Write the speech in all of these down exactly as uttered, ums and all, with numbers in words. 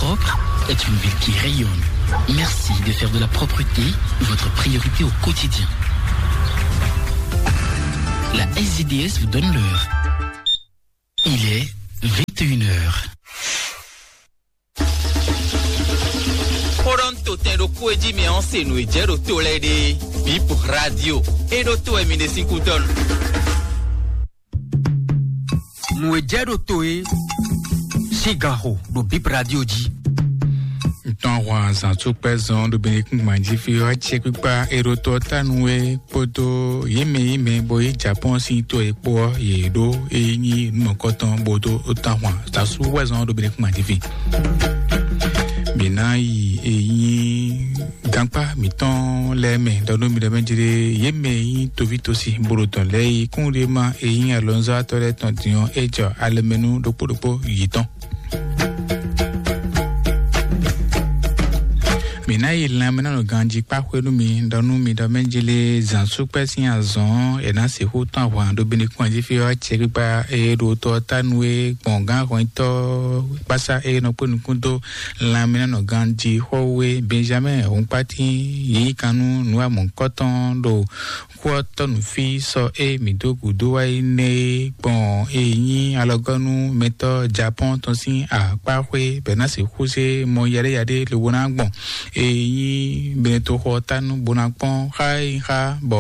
Propre est une ville qui rayonne. Merci de faire de la propreté votre priorité au quotidien. La S D D S vous donne l'heure. Il est vingt et une heures. Xóɖɔ́ntotɛn ɖokpó e jí mɛ ɔ́ se nǔ e jɛ ɖo to lɛ́ɛ ɖe. Bip Radio. E ɖo to wɛ mi ɖe sín kútɔ́ nu. Nǔ e jɛ ɖo to é sín ganxo ɖo Bip Radio jí. Ntɔn hwan zan tó kpɛ zɔn ɖo Benekun gbanjí fí ɔ́, acɛ kpíkpá e ɖo tɔ tánu é kpódó yě mɛ yě mɛ bɔ yě Japɔ́n sín to é kpó ɔ́, yě ɖó é nyí nǔmɔkɔtɔn bó dó tán hwan zan sú wɛ zɔn ɖo Benekun gbanjí fí. Mǐ ná yi é nyí gankpá mǐtɔn lɛ́ɛ mɛ ɖɔ nú mi ɖɔ mɛ jlé yě mɛ e nyí toví tosi bó ɖo tɔn lɛ́ɛ yi kún ɖé ma e nyí alɔnzɔ́watɔ́ lɛ́ɛ tɔn din ɔ́, é jɔ alɛmɛnú ɖokpó ɖokpó yětɔn. Mǐ ná yi lanmɛnánɔ ganjí kpá xwé nú mi ɖɔ nú mi ɖɔ mɛ jlé zǎnsúkpɛ́ sín azɔn ɔ́, è nǎ sixú tɔ́n ahwan ɖo Benekún jí fí ɔ́, acɛ kpíkpá e ɖo tɔ ɔ́ tánu é gbɔn gǎn hɔnyitɔ́ kpásá e nɔ kpé nukún dó lanmɛnánɔ ganjí xɔ́wé Benjamin Hunkpati yí kan nú nǔ amɔ̌kɔ́tɔn ɖo xó ɔ́ tɔ́ nǔ fí sɔ e mǐ dó gǔdo wá yi nɛ́ é gbɔn e nyí alɔgɔ́nú mɛtɔ́ Japɔ́n tɔn sín akpáxwé bɛ̌ ná sixú zé mɔ yaɖéyaɖé lobo ná gbɔn e nyí Benetoxɔ ɔ́ tánu bó ná kpɔ́n xá e nyí xá bɔ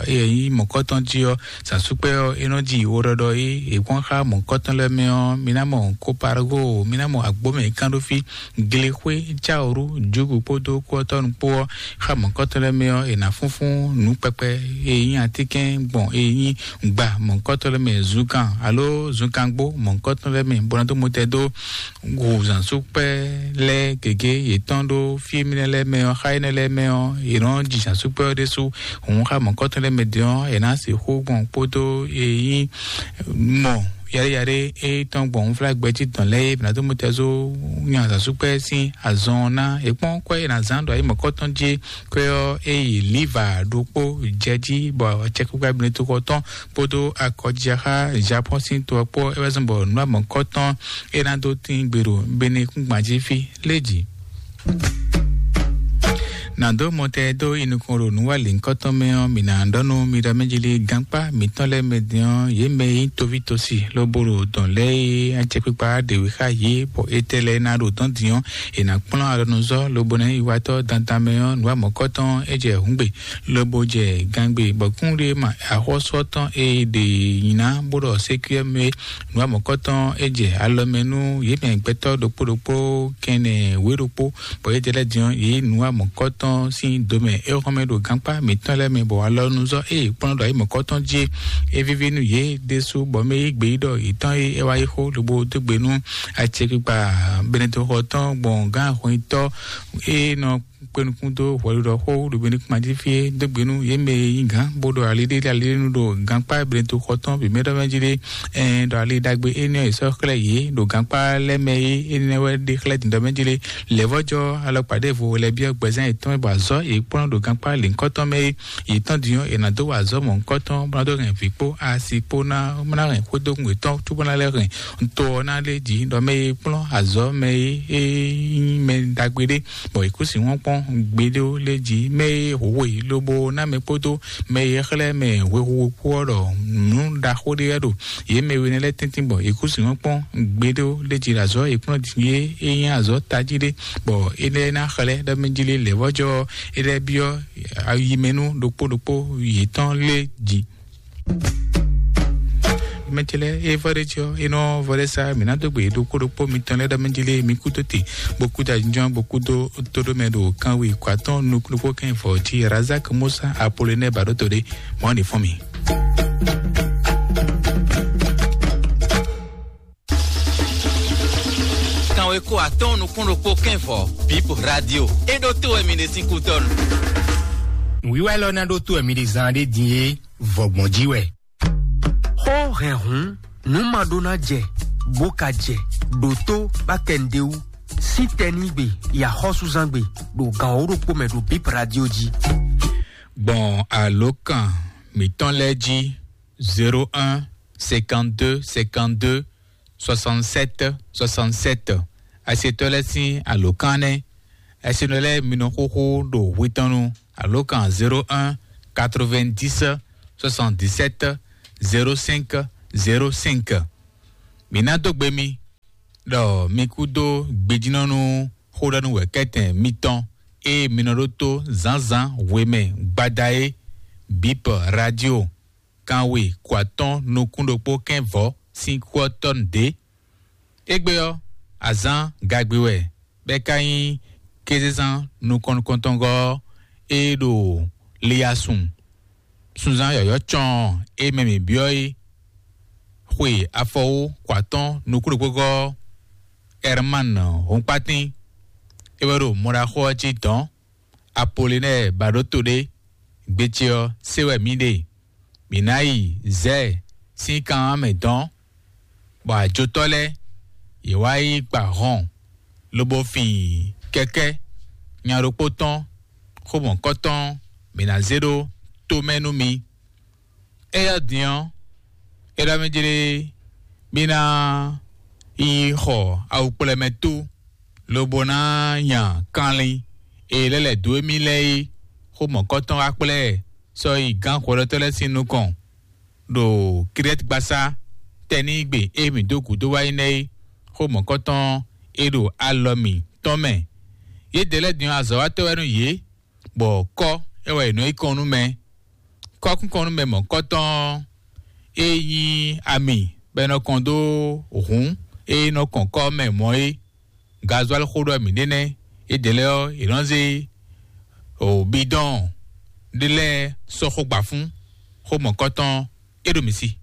e nyí mɔ̌kɔ́tɔn jí ɔ́, zǎnsúkpɛ́ ɔ́ é nɔ ji woɖɔɖɔ é è kpɔ́n xá mɔ̌kɔ́tɔn lɛ́ɛ mɛ ɔ́, mi ná mɔ Kopargo, mi ná mɔ agbǒmɛ kán ɖó fí, glexwé, cáwǔrú, jǔgǔ kpódó kúɔtɔ́nu kpó ɔ́, xá mɔ̌kɔ́tɔn lɛ́ɛ mɛ ɔ́, è nǎ fúnfún nǔ kpɛkpɛ e nyí atínkɛn gbɔn e nyí gba mɔ̌kɔ́tɔn lɛ́ɛ mɛ zunkan alo zunkangbó mɔ̌kɔ́tɔn lɛ́ɛ mɛ bó ná dó mɔtɛn dó hu zǎnsúkpɛ́ lɛ́ɛ gěgé yětɔn ɖó fí énɛ́ lɛ́ɛ mɛ ɔ́, xá énɛ́ lɛ́ɛ mɛ ɔ́, è nɔ́ ji zǎnsúkpɛ́ ɔ́ ɖésú hǔn xá mɔ̌kɔ́tɔn lɛ́ɛ mɛ din ɔ́, è nǎ sixú gbɔn kpódó e nyí mɔ yaɖéyaɖé e tɔn gbɔn unflágbɛjí tɔn lɛ́ɛ é bǐ ná dó mɔtɛn zó nya zǎnsúkpɛ́ sín azɔn ɔ́ ná. È kpɔ́n kwɛ́ e è nǎ zán ɖo ayǐ mɔ̌kɔ́tɔn jí kwɛ́ ɔ́, é yi líva ɖokpó jɛ jí bɔ acɛkpikpa Benetoxɔ tɔn kpódó akɔjija xá Japɔ́n sín to ɔ́ kpó é wɛ zɔ́n bɔ nǔ amɔ̌kɔ́tɔn é ná dó tín gbe ɖo Benekúngban jí fí lé jí. Nǎ dó mɔtɛn dó yi nukɔn ɖo nǔwanlǐnkɔtɔn mɛ ɔ́, mǐ ná ɖɔ nú mi ɖɔ mɛ jí lé gankpá mǐtɔn lɛ́ɛ mɛ din ɔ́, yě mɛ e nyí toví tosi lobo ɖo dɔn lɛ́ɛ e acɛkpikpa ɖě wú xá yě bɔ etɛ́ lɛ́ɛ ná ɖo dɔ̌n din ɔ́, è nǎ kplɔ́n alɔnuzɔ́ lobo ná yi watɔ́ dandan mɛ ɔ́, nǔ amɔ̌kɔ́tɔn é jɛ hǔngbe, lobo jɛ gangbe bɔ kúnɖé ma axɔ́sú ɔ́ tɔn e ɖe nyi ná bó ɖɔ sékúyɛ́ mɛ nǔ amɔ̌kɔ́tɔn é jɛ alɔ mɛ nú yě mɛ gbɛtɔ́ ɖokpó ɖokpó kɛnɛ wě ɖokpó, bɔ yě jɛ lɛ́ din ɔ́, yě nǔ amɔ̌kɔ́tɔn sín domɛ é xɔ́n mɛ ɖo gankpá mǐtɔn lɛ́ɛ mɛ, bɔ alɔnuzɔ́ e kplɔ́n ɖo ayǐ mɔ̌kɔ́tɔn jí é víví nú yě ɖésú, bɔ mɛ yí gbe yí ɖɔ yětɔn e é wá yí xó lobo dó gbe nú acɛkpikpa Benetoxɔ tɔn gbɔn gǎn ahɔnyitɔ́ e nɔ kpé nukún dó hwɛɖiɖɔ xó ɖo Benekúngban jí fí é dó gbe nú yě mɛ e nyí gǎn bó ɖo ali ɖé ali ɖé nu ɖo gankpá Benetoxɔ tɔn bǐ mɛ ɖɔ mɛ jí ɖé. Ɛn ɖɔ ali ɖagbe énɛ́ ɔ́ è sɔ́ xlɛ́ yě ɖo gankpá lɛ́ɛ mɛ é énɛ́ wɛ ɖe xlɛ́ dǐndɔ́ mɛ jí ɖé. Lɛ̌vɔ́jɔ alɔkpa ɖěvo lɛ́ byɔ́ gbɛzán yětɔn bɔ azɔ̌ yě kplɔ́n ɖo gankpá lěhunkɔtɔn mɛ é yě tɔn din ɔ́, è nǎ dó wa azɔ̌ mɔ̌hunkɔtɔn bó ná dó hɛn vǐ kpó asi kpó ná ná hɛn xwédógún yětɔn cóbó ná lɛ́ hɛn to ɔ́ ná lé jǐ ɖɔ mɛ e kplɔ́n azɔ̌ mɛ e é nyí mɛ ɖagbe ɖé, bɔ è kú sin wɔ́n kpɔ́n gbeɖé lé jí mɛ e hǒhó yě lobo ná mɛ kpódó mɛ e xlɛ́ mɛ hwexu kpó ɔ́ ɖɔ nǔ ɖaxó ɖé wɛ ɖo yě mɛ we nɛ́ lɛ́ɛ tɛ́ntin bɔ è kú sin wɔ́n kpɔ́n gbeɖé lé jí ɖo azɔ̌ è kplɔ́n din é é nyí azɔ̌ tají ɖé, bɔ é lɛ́ ná xlɛ́ ɖɔ mɛ jí lé lɛ̌vɔ́jɔ é lɛ́ byɔ́ ayi mɛ nú ɖokpó ɖokpó yětɔn lé jí. Mɛ ce lɛ́ɛ é vɔ ɖé jí ɔ́, é nɔ vɔ ɖé sá mǐ ná dó gbe ɖokpó ɖokpó mitɔn lɛ́ɛ ɖɔ mɛ jí lé mi kú dó te, bó kú dó ajínjɔ́n, bó kú dó tóɖó mɛ ɖo kanwe kɔatɔn nukúnukpó kɛn vɔ jí Razak Musa Apolonɛ ba ɖó to ɖé mɔ̌ ní fɔ́n mi. Kanwe ko atɔn nukún ɖokpó kɛn vɔ Bip Radio. É ɖó tó wɛ mi ɖe sín kútɔ́nu. Nǔwiwa élɔ́ ná ɖó tó wɛ mi ɖe zán ɖé din é, vɔgbɔn jí wɛ. Xó hɛnhun nǔ ma ɖó ná jɛ bó ka jɛ ɖo tó bá kɛ nǔɖé wú. Sín tɛnígbe yi axɔ́súzángbe ɖo gan wǒ ɖokpó mɛ ɖo Bip Radio jí. Gbɔn alǒkan mǐtɔn lɛ́ɛ jí: zéro un, cinquante-deux, cinquante-deux, soixante-sept, soixante-sept. Asietɔ́ lɛ́ɛ sín alǒkan nɛ́. Asienɔ lɛ́ɛ mi nɔ xóxó ɖo hwetɔ́nnu alǒkan zéro un quatre-vingt-dix soixante-dix-sept zéro cinq zéro cinq. Mǐ ná dó gbe mi ɖɔ mi kúdó gbejínɔ́ nú xóɖɔ́núwɛ̌kɛ́tɛn mitɔn e mi nɔ ɖótó zǎnzǎn hwemɛ gbada é, Bip Radio, kanwe kɔatɔ́n nukún ɖokpó kɛ́n vɔ̌ sín kú ɔ́ tɔ́ nǔ ɖé. Égbé ɔ́, azǎn gagbe wɛ, bɔ é ka nyí kézezán nukɔn nukɔntɔngɔ́ ɔ́, é ɖo liyasun sunzán yɔ̌yɔ́ cɔɔn e mɛ mǐ byɔ́ é. Xwe afɔwú kɔatɔ́n nukúnɖokpógɔ́ Ɛrmán Hɔnkpátín, é wɛ ɖo mɔɖaxó ɔ́ jí dɔ̌n. Apolinɛ́ɛ ba ɖó to ɖé. Gbe ce ɔ́ se wɛ mǐ ɖe. Mǐ ná yi Zɛ́ɛ sín kan ɔ́ mɛ dɔ̌n, bɔ ajotɔ́ lɛ́ɛ yě wá yi gba hɔn, lobo fin kɛkɛ́ nya ɖokpó tɔn xó mɔ̌kɔtɔn mǐ ná zé ɖó tomɛ nú mi. Éyɛ́ din ɔ́, é ɖɔ mì jlé mì ná yi xɔ awukplɛ́mɛtú, lobo ná nya kanlin e lɛ́ lɛ̌ dó émí lɛ́ɛ é. Xó mɔ̌kɔtɔn wá kplá ɛ sɔ́ yi gǎn hwɛɖɔtɔ́ lɛ́ɛ sín nukɔn ɖo Kirɛ́tgbasá tɛnígbe e mǐ dó gǔdo wá yi nɛ́ é. Xó mɔ̌kɔtɔn e ɖo alɔ mǐtɔn mɛ. Yědɛɛ lɛ́ɛ din ɔ́, azɔ̌watɔ́ wɛ nú yě, bɔ kɔ́ é wɛ è nɔ yi kɔn nú mɛ. Kɔ́kúnkɔn nú mɛ mɔ̌kɔtɔn ɔ́, é nyí ami bɔ è nɔ kɔn dó hǔn e nɔ kɔn kɔ́ mɛ mɔ̌ é. Gazwali xó ɖɔ mǐ ɖe nɛ́. Yědɛɛ lɛ́ɛ ɔ́, yě nɔ zé bidɔn ɖé lɛ́ɛ sɔ́ xó gba fún. Xó mɔ̌kɔtɔn é ɖo mǐ sí.